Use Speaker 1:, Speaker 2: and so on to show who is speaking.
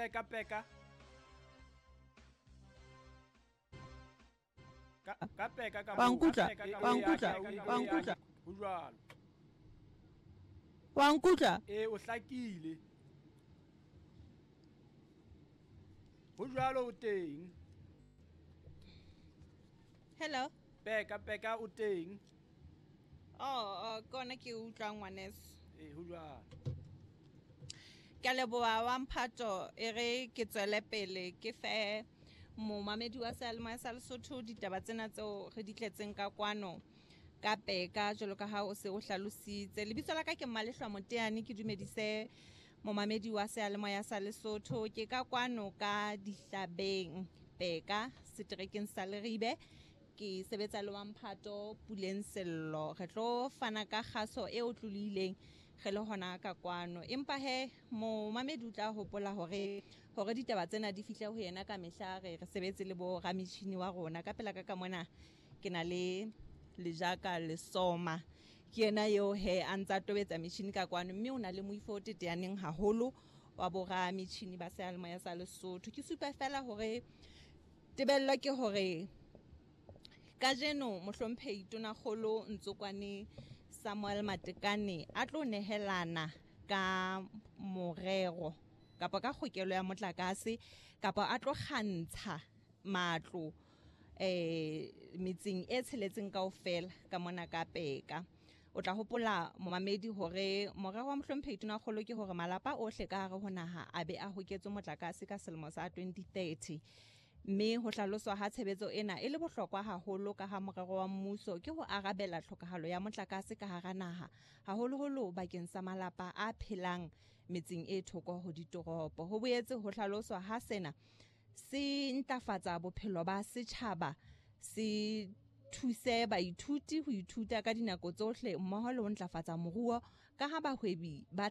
Speaker 1: Peka Peka. Ka ka Peka ka
Speaker 2: Wa
Speaker 1: moo.
Speaker 2: nkutlwa?
Speaker 1: Ka Peka ka
Speaker 2: Wa
Speaker 1: moo.
Speaker 2: nkutlwa? Wa nkutlwa?
Speaker 1: Ho jwalo.
Speaker 2: Wa nkutlwa?
Speaker 1: Ee, o hlakile. Ho jwalo o teng.
Speaker 2: Hello.
Speaker 1: Peka Peka o teng.
Speaker 2: Oh, oh ke ona ke utlwang ngwaneso.
Speaker 1: Ee, ho jwalo.
Speaker 2: Ke a leboha wa mphato e re ke tswele pele ke fe momamedi wa seyalemoya sa Lesotho ditaba tsena tseo re di tletseng ka kwano ka Peka jwalo ka ha o se o hlalositse. Lebitso la ka ke Mmalehlwa Moteane ke dumedise momamedi wa seyalemoya sa Lesotho ke ka kwano ka Dihlabeng Peka seterekeng sa Leribe ke sebetsa le wa mphato Puleng Sello re tlo fana ka kgaso e otlolohileng re le hona ka kwano empa he momamedi o tla hopola hore hore ditaba tsena di fihle ho yena ka mehla re re sebetse le bo rametjhini wa rona ka pela ka ka mona ke na le Lejaka Lesoma ke yena eo he a ntsa tobetsa metjhini ka kwano mme o na le moifo o teteaneng haholo wa bo rametjhini ba seyalemoya sa Lesotho ke supa fela hore tebello ke hore kajeno mohlomphehi Tonakgolo Ntsokwane Samuel Matekane a tlo nehelana ka morero kapa ka kgokelo ya motlakase kapa a tlo kgantsha matlo metseng e tsheletseng kaofela ka mona ka Peka. O tla hopola momamedi hore morero wa mohlomphehi Tonakgolo ke hore malapa ohle ka hare ho naha a be a hoketswe motlakase ka selemo sa 2030. Mme ho hlaloswa ha tshebetso ena e le bohlokwa haholo ka ha morero wa mmuso ke ho arabela tlhokahalo ya motlakase ka hara naha haholoholo bakeng sa malapa a phelang metseng e thoko ho ditoropo. Ho boetse ho hlaloswa ha sena se ntlafatsa bophelo ba setjhaba se thuse baithuti ho ithuta ka dinako tsohle mmoho le ho ntlafatsa moruo ka ha bahwebi ba